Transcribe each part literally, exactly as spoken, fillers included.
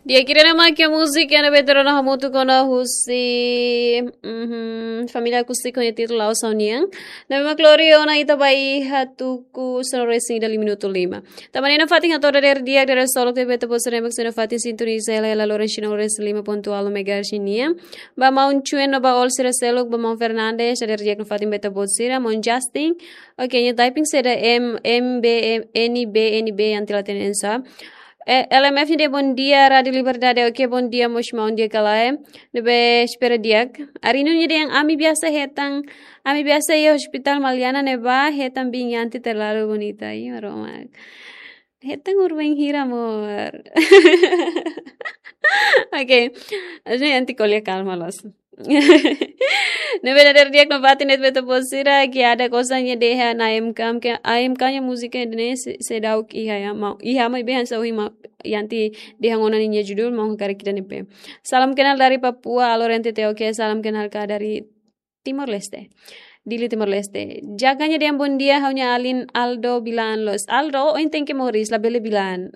Di'ak, ida-ne'e mak múzika ne'ebé ita rona hamutuk ona husi, mhm, família Acústico nia títulu La'ós Ha'u Nian. Ne'ebé mak lori ona ita ba iha tuku sanulu-resin-ida liu minutu lima. Tanba ne'e nafatin hato'o dadeer di'ak, dadeer solok ba ita-boot sira ne'ebé mak sei nafatin sintoniza hela, hela Loren Chino Loren lima pontu ualu megahertz nian. Ba maun Chuen no ba Ol sira seluk, ba maun Fernandes, dadeer di'ak nafatin ba ita-boot sira, maun Justin. Oke, nia typing saida M, M B, M, N B, N B, yang tidak tenensa. Eh, L M F nia dehan bondia, Rádio Liberdade. Oke, bondia mós maun di'ak ka lae. Ne'ebé espera di'ak. Arino nia dehan ami biasa hetan, ami biasa iha ospitál Maliana ne'ebá hetan biin Yanti terlalu bonita. Ih, Maromak. Hetan urbain hira, amor. Oke. Aja Yanti ko'alia kalma loos. Ne'ebé dadeer di'ak nafatin de'it ba ita-boot sira, Kiada Kosa nia dehan A M K, ke A M K nia múzika ne'e se, seidauk iha ya, maun. Iha maibé hanesan ohin maun Yanti dehan ona ninia judul, maun hakarak ida-ne'e. Salam kenal dari Papua, alor N T T, oke, salam kenal ka dari Timor-Leste. Dili, Timor-Leste. Jaka nia dehan bondia, ha'u-nia alin Aldo Bilan loos. Aldo, oin tenke moris, labele bilan.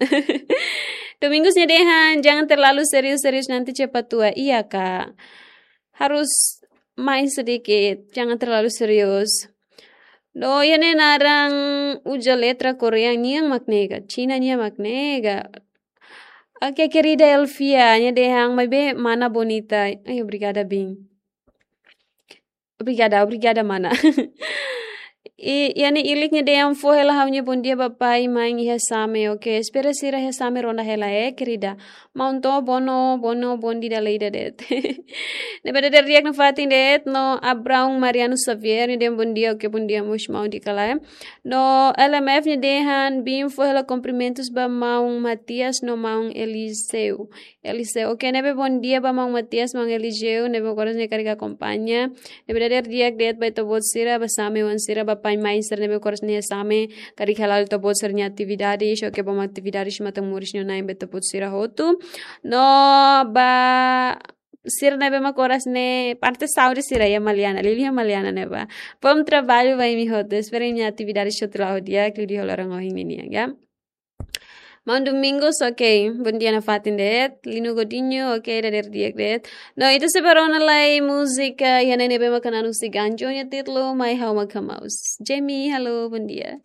Domingos nia dehan, jangan terlalu serius-serius nanti cepat tua. Iya, Kak. Harus main sedikit, jangan terlalu serius. No, iha ne'e naran uza letra Korea nian mak ne'e ka, Cina nian mak ne'e ka. Oke, querida Elvia, nia dehan maibé mana bonita. Ai, obrigada, biin. Obrigada, obrigada, mana. I, iha ne'e Ilik nia dehan fó hela ha'u-nia bondia ba pai, main iha Same. Oke, espera sira iha Same ronda hela, eh, querida. Maun To'o Bono, Bono, bondia dala ida de'it. Ne'ebé dadeer di'ak nafatin de'it, no Abraão Mariano Xavier, nia dehan bondia, oke, bondia mós maun di'ak ka lae. No L M F nia dehan, biin fó hela kumprimentus ba maun Matias no maun Eliseu. Eliseu, oke, ne'ebé bondia ba maun Matias, maun Eliseu, ne'ebé mak oras ne'e karik akompaña. Ne'ebé dadeer di'ak de'it ba ita-boot sira, ba Same oan sira, ba pai-main sira ne'ebé mak oras ne'e Same, karik hala'o ita-boot sira-nia atividades, oke, ba atividades matan-moris nia na'in ba ita-boot sira hotu. No ba sira ne'ebé mak oras ne'e parte saúde sira iha Maliana, liuliu iha Maliana ne'ebá. Bom trabalho ba imi hotu, espera imi-nia atividades hotu la'o di'ak, liuliu ho loron ohin ninian, ya. Maun Domingos, oke, bondia nafatin de'it. Lino Godinho, oke, dadeer di'ak de'it. No, ita sei bá rona lai múzika iha ne'e ne'ebé mak hanesan husi Ganjo nia títulu, Mai Ha'u Mak Hamaus. Jamie, halo, bondia.